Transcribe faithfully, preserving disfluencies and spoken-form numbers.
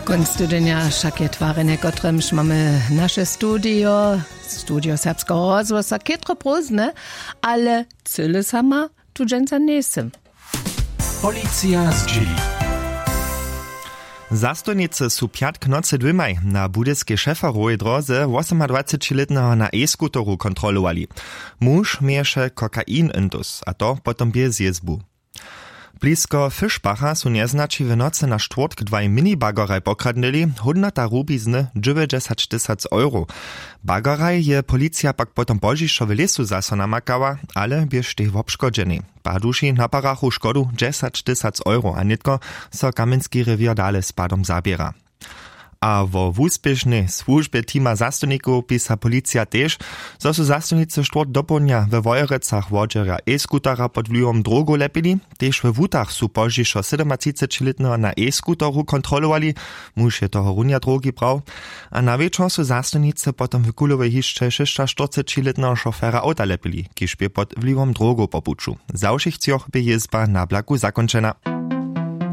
Kónc tydźenja wšak je twarjenje, kotremž mamy naše studio, studio serbskeho rozhłosa, chětro prózdne, ale cyle sama tu dźensa njejsym. Policija zdźěli. Zastojnicy su pjatk nocy dwěmaj na budyskej šeferowej dróze wosomadwacećilětneho na e-skuteru kontrolowali. Muž měješe kokain intus, a to potom bjez jězbu. Blisko Fischbacha su njeznaći w nocy na štwórtk dwaj minibageraj pokradnyli, hódnota rubizny dźewjećdźesat tysac euro. Bageraj je policija pak potom pozdźišo w lěsu zaso namakała, ale běštej wobškodźenej. Paduši naparachu škodu dźesać tysac euro a nětko so kamjenski rewěr dale z padom zaběra. A wo wuspěšnej słužbje teama zastojnikow pisa policija tež, zo su zastojnicy štwórtk dopołdnja we wojerecach wodźerja e-skutera pod wliwom drogow lepili. Tež we wutach su pozdźišo sydomatřicećilětneho na e-skuteru kontrolowali. Muž je tohorunja drogi brał. A na wječor su zastojnicy potom w kulowej hišće šěsćaštyrcećilětneho šofera awta lepili, kiž bě pod wliwom drogow po puću. Za wšěch třoch bě jězba na blaku zakónčena.